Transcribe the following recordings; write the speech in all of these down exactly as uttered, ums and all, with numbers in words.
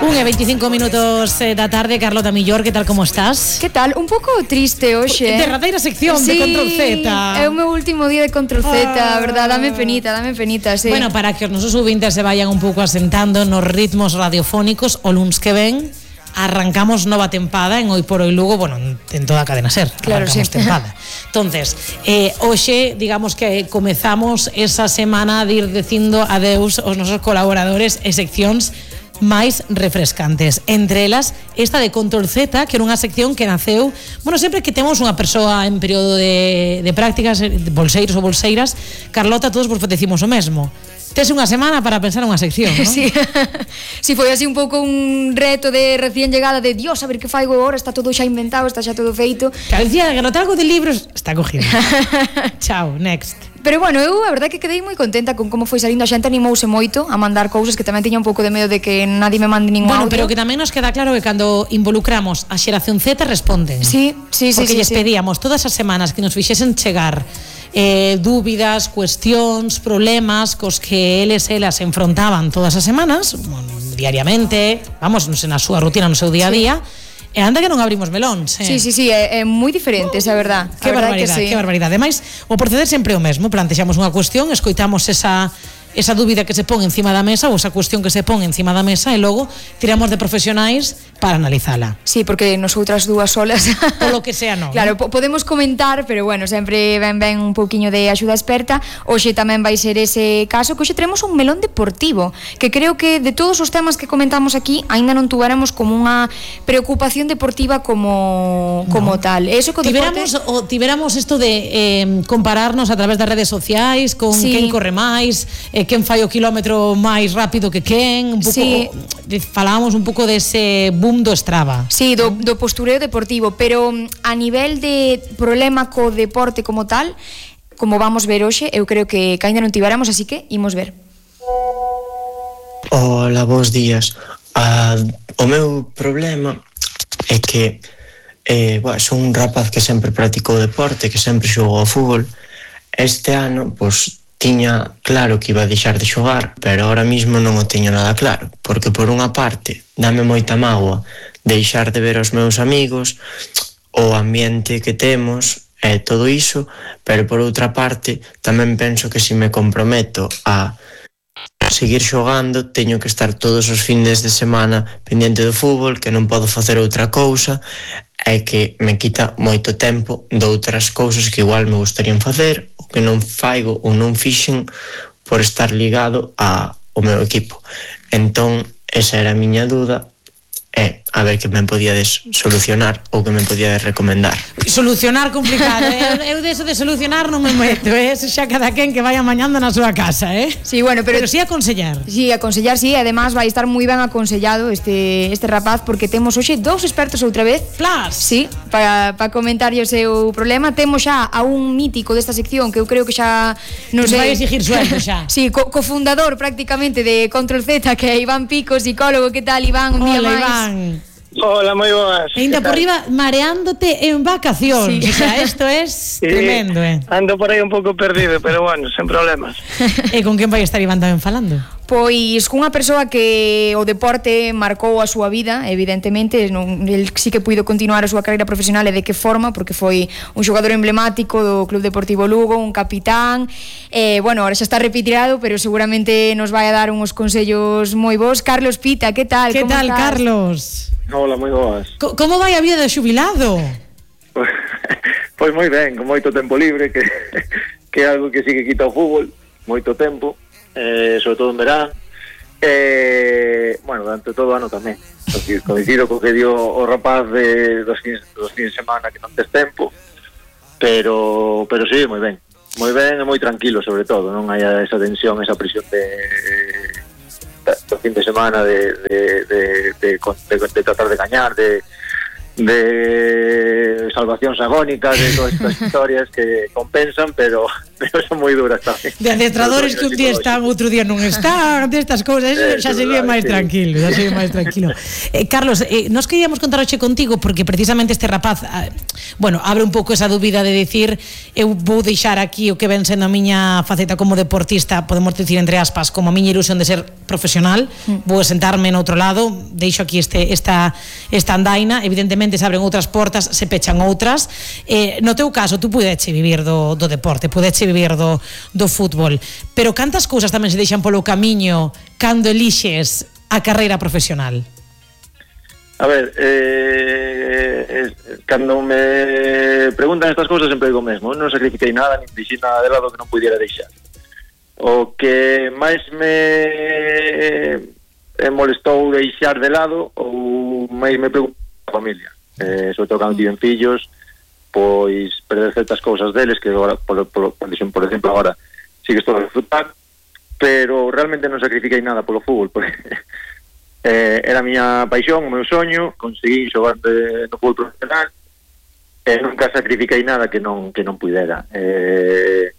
Un e veinticinco minutos eh, da tarde, Carlota Millor, que tal, como estás? Que tal? Un pouco triste hoxe. Derradeira sección sí, de Control Z. É o meu último día de Control Z, ah. verdad? Dame penita, dame penita, sí. Bueno, para que os nosos ouvintes se vayan un pouco asentando nos ritmos radiofónicos, o luns que ven arrancamos nova tempada en Hoy por Hoy Lugo, bueno, en toda a cadena SER. Claro, sí. Tempada. Entonces, eh, hoxe, digamos que comezamos esa semana de ir dicindo adeus aos nosos colaboradores e seccións máis refrescantes. Entre elas, esta de Control Z, que era unha sección que naceu, bueno, sempre que temos unha persoa en período de, de prácticas, de bolseiros ou bolseiras, Carlota, todos vos decimos o mesmo. Tes unha semana para pensar unha sección, non? Sí. Si foi así un pouco un reto de recién llegada de Dios, a ver que faigo agora, está todo xa inventado, está xa todo feito. Que decía que anotar algo de libros, está cogido. Chao, next. Pero bueno, eu a verdade que quedei moi contenta con como foi salindo, a xente animouse moito a mandar cousas, que tamén tiña un pouco de medo de que nadie me mande ningún bueno, audio. Pero que tamén nos queda claro que cando involucramos a xeración Z responden. Sí, sí, sí. Porque sí, lles sí. pedíamos todas as semanas que nos fixesen chegar eh, dúbidas, cuestións, problemas cos que eles e elas se enfrontaban todas as semanas, bueno, diariamente, vamos, non sei, na súa rutina, no seu día a día. Sí. E anda que non abrimos melóns, eh? Sí, sí, sí, é, é moi diferente, esa é verdad. Que barbaridade, que sí. que barbaridade. Ademais, o proceder sempre é o mesmo, plantexamos unha cuestión, escoitamos esa esa dúbida que se pon encima da mesa ou esa cuestión que se pon encima da mesa e logo tiramos de profesionais para analizala. Sí, porque nosotras dúas solas por lo que sea, non. Claro, po- podemos comentar, pero bueno, sempre ven ben un pouquiño de axuda experta. Hoxe tamén vai ser ese caso, que hoxe teremos un melón deportivo, que creo que de todos os temas que comentamos aquí aínda non tuveramos como unha preocupación deportiva como como no. tal. Eso co tiveramos deporte... o tiveramos isto de eh, compararnos a través das redes sociais con sí. quen corre máis, eh, quen fai o quilómetro máis rápido que quen, un pouco sí. falábamos un pouco dese boom do Strava. Sí, do, do postureo deportivo, pero a nivel de problema co deporte como tal, como vamos ver hoxe, eu creo que, que ainda non tiveramos, así que imos ver. Hola, bons días. Uh, o meu problema é que eh, bueno, son un rapaz que sempre practicou deporte, que sempre xogou ao fútbol. Este ano, pois, tiña claro que iba a deixar de xogar, pero ahora mismo non o teño nada claro, porque por unha parte dame moita mágoa deixar de ver os meus amigos, o ambiente que temos e todo iso, pero por outra parte tamén penso que se me comprometo a seguir xogando, teño que estar todos os findes de semana pendiente do fútbol, que non podo facer outra cousa, e que me quita moito tempo de outras cousas que igual me gustarían facer, ou que non faigo ou non fixen por estar ligado a, ao meu equipo. Entón, esa era a miña dúda, e a ver que me podíades solucionar ou que me podíades recomendar. Solucionar complicado, eh? Eu deso de solucionar non me meto, eh? Xa cada quen que vaya mañando na súa casa, eh? Sí, bueno, pero, pero sí aconsellar. Sí, aconsellar, sí, además vai estar moi ben aconsellado este este rapaz, porque temos hoxe dous expertos outra vez. Plus. Sí, para para comentarlle o seu problema. Temos xa a un mítico desta sección que eu creo que xa non que sei, vai exigir sueldo xa. Sí, co cofundador prácticamente de Control Z, que é Iván Pico, psicólogo. Que tal, Iván? Un Hola, día máis. Iván. Hola, moi boas. E ainda por riba mareándote en vacacións. Sí. O sea, esto es sí, tremendo, eh. Ando por aí un pouco perdido, pero bueno, sen problemas. E con quen vai estar Iván tamén falando? Pois cunha persoa que o deporte marcou a súa vida, evidentemente, non, el sí que puido continuar a súa carreira profesional, e de que forma, porque foi un xogador emblemático do Club Deportivo Lugo, un capitán, e, bueno, ahora xa está retirado, pero seguramente nos vai a dar uns consellos moi bons. Carlos Pita, que tal? Que Como tal, estás? Carlos? Hola, moi boas. Co como vai a vida de xubilado? Pois moi ben, con moito tempo libre, que, que é algo que sí que quita o fútbol, moito tempo, eh, sobre todo en verán, eh, bueno, durante todo o ano tamén. Coincido co que dio o rapaz de dos fins, dos fins de semana que non tes tempo, pero, pero sí, moi ben. Moi ben e moi tranquilo, sobre todo, non hai esa tensión, esa presión de... do fin de semana de, de, de, de, de, de tratar de gañar, de, de salvacións agónicas, de todas estas historias que compensan, pero pero son moi duras tamén. De adestradores que un día están, outro día non están, destas cousas, eso xa se ve máis tranquilo, xa se ve máis tranquilo. Eh, Carlos, eh, nos queríamos contar hoxe contigo porque precisamente este rapaz, eh, bueno, abre un pouco esa dúbida de dicir, eu vou deixar aquí o que ven sendo a miña faceta como deportista, podemos dicir entre aspas, como a miña ilusión de ser profesional, mm. vou sentarme no outro lado, deixo aquí este esta esta andaina, evidentemente se abren outras portas, se pechan outras. Eh, no teu caso, tú pudeche vivir do, do deporte, pudeche vivir do, do fútbol, pero cantas cousas tamén se deixan polo camiño cando elixes a carreira profesional? A ver, eh, eh, cando me preguntan estas cousas sempre digo mesmo, non sacrifiquei nada, nin deixei nada de lado que non pudiera deixar. O que máis me eh, molestou deixar de lado ou máis me preguntou a familia, eh, sobre todo cando tiven fillos, pois perder certas cousas deles que agora, por, por, por, por exemplo, agora sí que estou a disfrutar, pero realmente non sacrifiquei nada polo fútbol, porque eh, era a miña paixón, o meu soño, conseguí xogar de, no fútbol profesional, e nunca sacrifiquei nada que non que non pudera. Eh,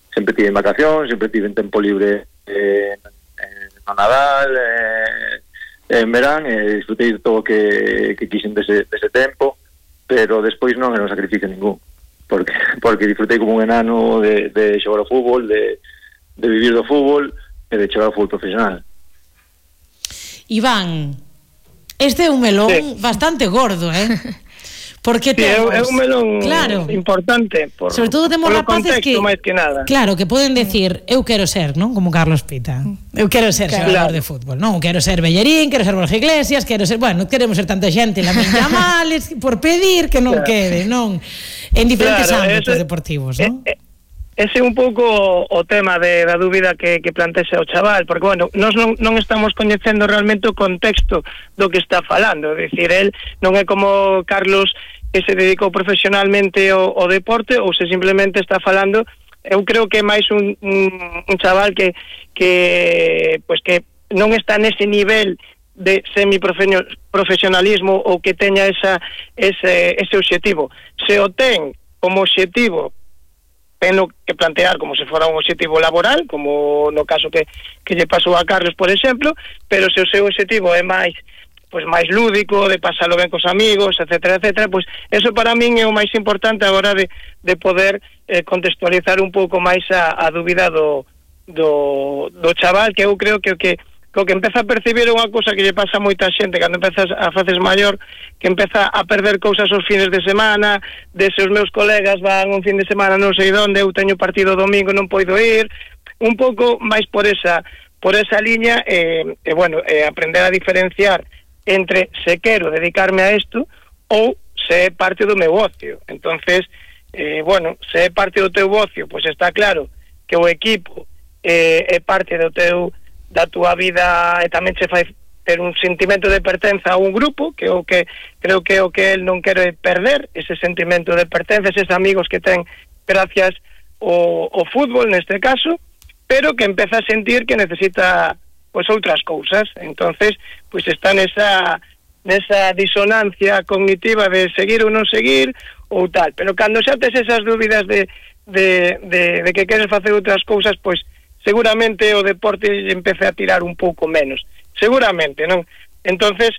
sempre tive en vacación, sempre tive en tempo libre eh, no Nadal, eh, en verán, e disfrutei de todo o que, que quixen dese, dese tempo, pero despois non era un sacrificio ningún, porque porque disfrutei como un enano de, de xogar ao fútbol, de, de vivir do fútbol e de xogar ao fútbol profesional. Iván, este é un melón sí. bastante gordo, eh? Porque sí, temos, é un melón claro, importante por, sobre todo temos rapaces que, máis que nada. Claro, que poden decir, eu quero ser, non? Como Carlos Pita. Eu quero ser claro. xogador de fútbol, non? Quero ser Bellerín, quero ser Borja Iglesias, quero ser, bueno, queremos ser tanta xente, la miña males por pedir que non claro. quede, non? En diferentes claro, ámbitos ese, deportivos, non? Eh, eh, ese é un pouco o tema de, da dúbida que, que plantexa o chaval, porque, bueno, nós non, non estamos coñecendo realmente o contexto do que está falando, é dicir, el non é como Carlos que se dedicou profesionalmente ao, ao deporte, ou se simplemente está falando, eu creo que é máis un, un, un chaval que, que, pues que non está nese nivel de semiprofesionalismo ou que teña esa, ese, ese obxectivo. Se o ten como obxectivo, teno que plantear como se fora un obxectivo laboral, como no caso que, que lle pasou a Carlos, por exemplo, pero se o seu obxectivo é máis pois máis lúdico, de pasalo ben cos amigos, etcétera, etcétera, pois eso para min é o máis importante a hora de, de poder eh, contextualizar un pouco máis a, a dúbida do, do, do chaval, que eu creo que o que, que o que empeza a percibir é unha cousa que lle pasa a moita xente cando empezas a faces maior, que empeza a perder cousas os fines de semana, de se os meus colegas van un fin de semana non sei onde, eu teño partido domingo non poido ir, un pouco máis por esa por esa liña, e eh, eh, bueno, eh, aprender a diferenciar entre se quero dedicarme a isto ou se é parte do meu ocio. Entonces, eh, bueno, se é parte do teu ocio, pois está claro que o equipo eh, é parte do teu da túa vida e tamén se fai ter un sentimento de pertenza a un grupo, que o que creo que o que el non quere perder, ese sentimento de pertenza, eses amigos que ten gracias ao, ao fútbol neste caso, pero que empeza a sentir que necesita pois outras cousas. Entonces, pois está nesa nesa disonancia cognitiva de seguir ou non seguir ou tal, pero cando xa tes esas dúbidas de, de, de, de que queres facer outras cousas, pois seguramente o deporte empece a tirar un pouco menos, seguramente, non? Entonces,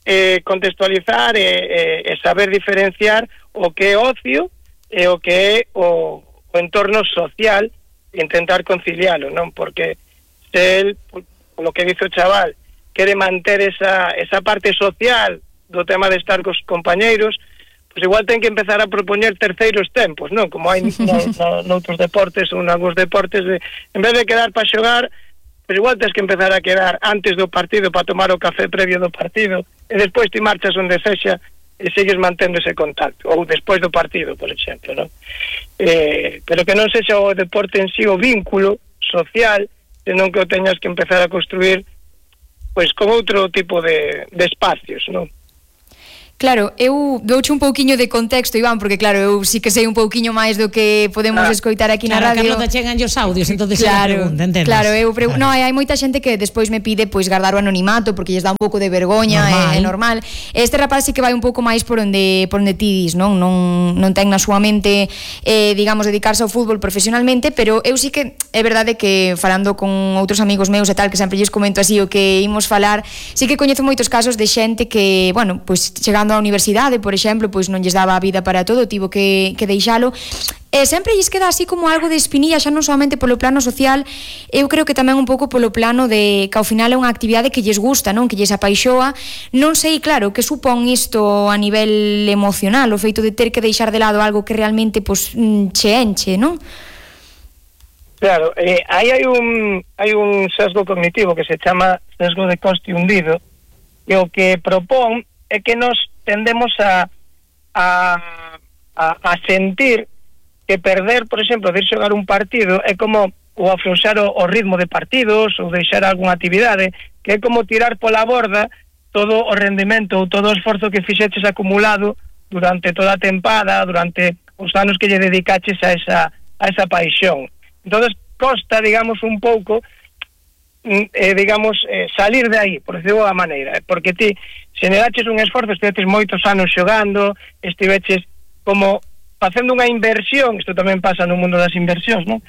eh, contextualizar e, e, e saber diferenciar o que é ocio e o que é o, o entorno social, intentar conciliarlo, non? Porque se el, lo que dice o chaval, quere manter esa, esa parte social do tema de estar cos compañeiros, pois igual ten que empezar a propoñer terceiros tempos, non? Como hai no, no, noutros deportes ou nalgúns deportes, de, en vez de quedar para xogar, pois igual tens que empezar a quedar antes do partido para tomar o café previo do partido, e despois ti marchas onde sexa e sigues mantendo ese contacto, ou despois do partido, por exemplo, non? Eh, pero que non sexa o deporte en sí o vínculo social, senón que o teñas que empezar a construir pois con outro tipo de, de espacios, non? Claro, eu douche un pouquiño de contexto, Iván, porque claro, eu sí que sei un pouquiño máis do que podemos ah, escoitar aquí claro, na radio. Claro, Carlota, chegan os audios, entonces claro, pregunta, entendes? Claro, eu pregu- claro. No, hai moita xente que despois me pide pois guardar o anonimato porque lles dá un pouco de vergoña, é, é normal. Este rapaz sí que vai un pouco máis por onde por onde ti dis, non? Non non ten na súa mente eh, digamos dedicarse ao fútbol profesionalmente, pero eu sí que é verdade que falando con outros amigos meus e tal, que sempre lles comento así o que imos falar, sí que coñezo moitos casos de xente que, bueno, pois chegando á universidade, por exemplo, pois non lles daba a vida para todo, tivo que, que deixalo, e sempre lles queda así como algo de espinilla, xa non solamente polo plano social, eu creo que tamén un pouco polo plano de que ao final é unha actividade que lles gusta, non, que lles apaixoa. Non sei, claro, que supón isto a nivel emocional, o feito de ter que deixar de lado algo que realmente pois, che enche, non? Claro, eh, aí hai un hai un sesgo cognitivo que se chama sesgo de coste hundido, e o que propón é que nos tendemos a a, a, a sentir que perder, por exemplo, de ir xogar un partido é como ou afrouxar o, o ritmo de partidos ou deixar algunha actividade, que é como tirar pola borda todo o rendimento ou todo o esforzo que fixeches acumulado durante toda a tempada, durante os anos que lle dedicaches a esa, a esa paixón. Entonces costa, digamos, un pouco eh, digamos, eh, salir de aí, por decirlo da maneira, porque ti xeneraches un esforzo, estiveches moitos anos xogando, estiveches como facendo unha inversión, isto tamén pasa no mundo das inversións, non?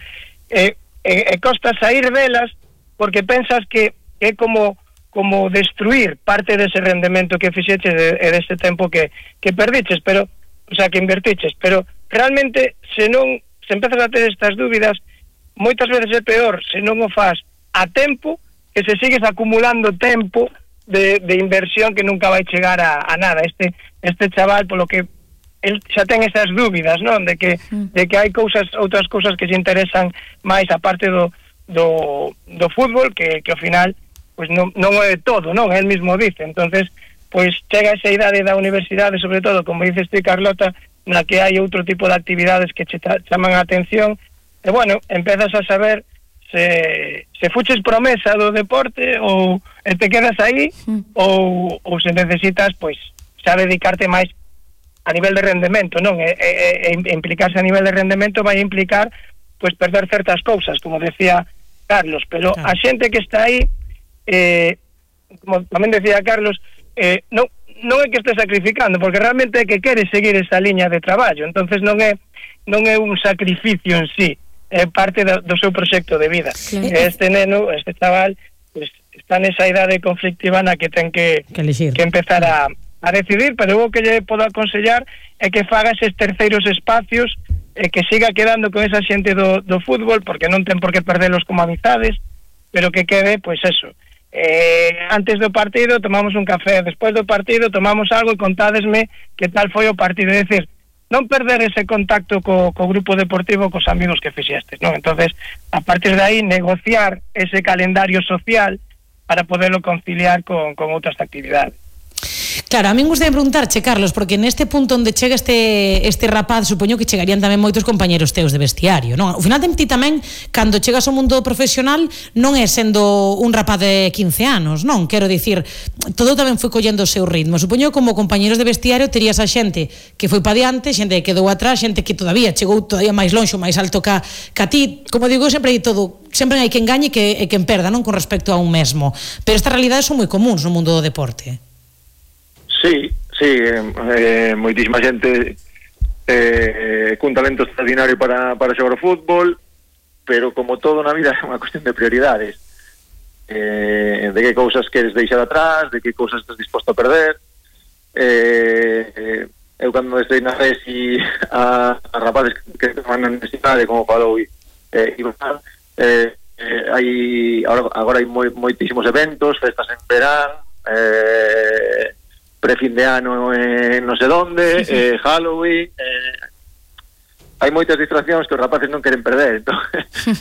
E, e, e costa sair delas porque pensas que é como como destruir parte dese rendemento que fixeches e deste tempo que, que perdiches, pero, o sea, que invertiches, pero realmente se non, se empezas a ter estas dúbidas, moitas veces é peor se non o faz a tempo, que se sigues acumulando tempo de, de inversión que nunca vai chegar a, a nada. Este este chaval, polo que el xa ten esas dúbidas, non? De que de que hai cousas, outras cousas que se interesan máis aparte do do do fútbol, que que ao final pois non non é todo, non? El mismo dice. Entonces, pois chega esa idade da universidade, sobre todo, como dices ti, Carlota, na que hai outro tipo de actividades que che chaman a atención, e bueno, empezas a saber se, se fuches promesa do deporte ou te quedas aí mm. ou, ou se necesitas pois xa dedicarte máis a nivel de rendemento, non? E, e, e implicarse a nivel de rendemento vai implicar pois perder certas cousas, como decía Carlos, pero claro, a xente que está aí eh, como tamén decía Carlos, eh, non, non é que este sacrificando, porque realmente é que quere seguir esa liña de traballo, entonces non é non é un sacrificio en sí, é parte do, do seu proxecto de vida. Claro. Este neno, este chaval, pues, está nesa idade conflictiva na que ten que, que, que empezar a, a decidir, pero o que lle podo aconsellar é que faga eses terceiros espacios, e que siga quedando con esa xente do, do fútbol, porque non ten por que perdelos como amizades, pero que quede, pois pues eso, eh, antes do partido tomamos un café, despois do partido tomamos algo e contádesme que tal foi o partido, é dicir, non perder ese contacto co, co grupo deportivo, cos amigos que fixestes, non? Entonces, a partir de aí, negociar ese calendario social para poderlo conciliar con, con outras actividades. Claro, a min gustaría preguntarche, Carlos, porque neste punto onde chega este este rapaz, supoño que chegarían tamén moitos compañeros teus de vestiario, non? Ao final ti tamén, cando chegas ao mundo profesional, non é sendo un rapaz de quince anos, non? Quero dicir, todo tamén foi collendo o seu ritmo. Supoño que como compañeros de vestiario terías a xente que foi pa diante, xente que quedou atrás, xente que todavía chegou todavía máis lonxo, máis alto ca, ca ti. Como digo, sempre hai todo, sempre hai quen gañe e que, e quen perda, non? Con respecto a un mesmo. Pero estas realidades son moi comuns no mundo do deporte. Sí, sí, eh, moitísima xente eh, cun talento extraordinario para, para xogar o fútbol, pero como todo na vida é unha cuestión de prioridades, eh, de que cousas queres deixar atrás, de que cousas estás disposto a perder. eh, eh, eu cando estei na resi a, a rapaces que estaban na universidade, como falou eh, Iván, eh, eh, hai, agora, agora hai moi, moitísimos eventos, festas en verán, eh, pre-fin de ano en non sei donde, sí, sí. Eh, Halloween, eh, hai moitas distraccións que os rapaces non queren perder, entón,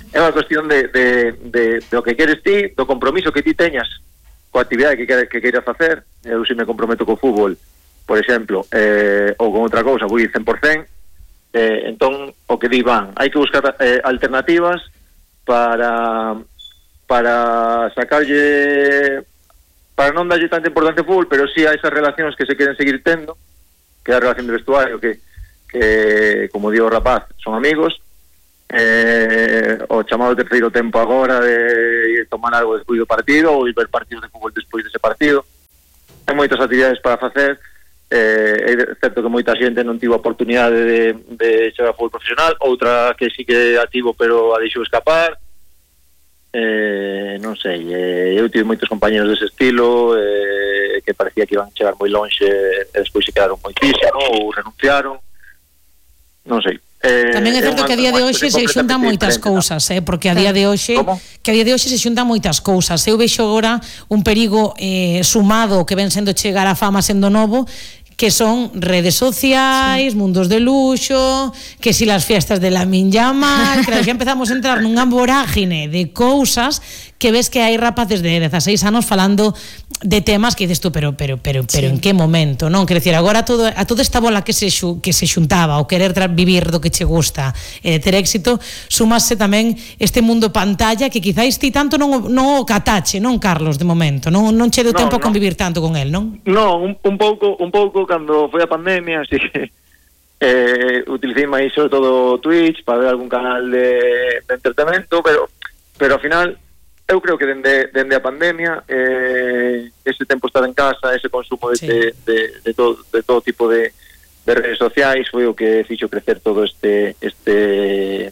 é unha cuestión de, de, de, de o que queres ti, do compromiso que ti teñas coa actividade que, que, que queiras facer. Eu se me comprometo co fútbol, por exemplo, eh, ou con outra cousa, vou ir cen por cen, eh, entón, o que di van, hai que buscar eh, alternativas para para sacarlle para non darlle tanta importancia ao fútbol, pero sí a esas relacións que se queren seguir tendo, que é a relación de vestuario, que, que como digo o rapaz, son amigos, eh, o chamado terceiro tempo agora de tomar algo despois do partido ou ir ver partidos de fútbol despois dese partido. Hai moitas actividades para facer. Eh, é certo que moita xente non tivo a oportunidade de, de xogar fútbol profesional, outra que sí que ativo pero a deixou escapar. Eh, non sei, eh, eu tive moitos compañeros dese estilo, eh, que parecía que iban chegar moi lonxe e despois se quedaron moitísimo ou renunciaron, non sei. Eh, Tamén é certo que a día de hoxe se xuntan moitas cousas, eh, porque a día de hoxe que a día de hoxe se xuntan moitas cousas. Eu vexo agora un perigo eh, sumado que ven sendo chegar a fama sendo novo, que son redes sociais, sí. mundos de luxo, que si las fiestas de la Minyama, que xa empezamos a entrar nunha vorágine de cousas que ves que hai rapaces de dezaseis anos falando de temas que dices tú, pero pero pero pero sí. en que momento, non? Quer decir, agora todo a toda esta bola que se xu, que se xuntaba, o querer tra- vivir do que che gusta, e eh, ter éxito, sumase tamén este mundo pantalla que quizáis ti tanto non non o catache, non, Carlos, de momento, non non che deu no, tempo no. a convivir tanto con el, non? No, un, un pouco, un pouco cando foi a pandemia, así que eh, utilicei máis sobre todo Twitch para ver algún canal de, de entretenimento, pero pero ao final eu creo que dende, dende a pandemia eh, ese tempo estar en casa, ese consumo de, sí. de, de, de, todo, de todo tipo de, de redes sociais foi o que fixo crecer todo este este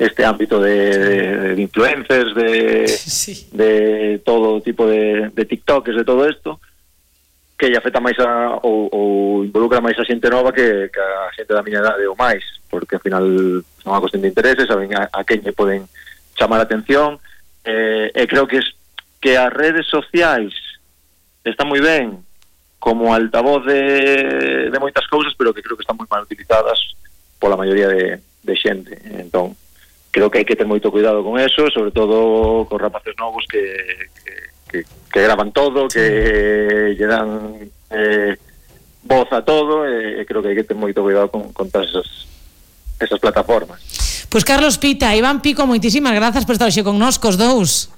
este ámbito de, sí. de, de influencers, de, sí. de todo tipo de, de TikTokers, de todo isto, que lle afecta máis a, ou, ou involucra máis a xente nova que, que a xente da miña idade ou máis, porque ao final son unha cuestión de intereses, saben a, a quen lle poden chamar a atención. Eh, e creo que es, que as redes sociais están moi ben como altavoz de, de moitas cousas, pero que creo que están moi mal utilizadas pola maioría de, de xente. Entón, creo que hai que ter moito cuidado con eso, sobre todo con rapaces novos que, que, que, que graban todo, que lle dan eh, voz a todo, e creo que hai que ter moito cuidado con, con todas esas, esas plataformas. Pois pues Carlos Pita, Iván Pico, moitísimas grazas por estar hoxe con nós, cos dous.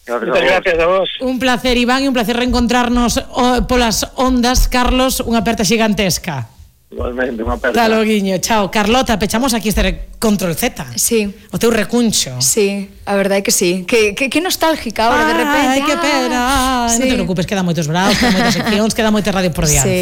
Gracias, gracias a vos. Un placer, Iván, e un placer reencontrarnos oh, polas ondas. Carlos, unha aperta xigantesca. Igualmente, unha aperta. Hasta loguiño, chao. Carlota, pechamos aquí este Control Z. Sí. O teu recuncho. Sí, a verdade é que sí. Que, que, que nostálgica ahora, de repente. Ai, que pena. Ah, sí. Non te preocupes, quedan moitos bravos, quedan moitas seccións, quedan moitas radio por diante. Sí.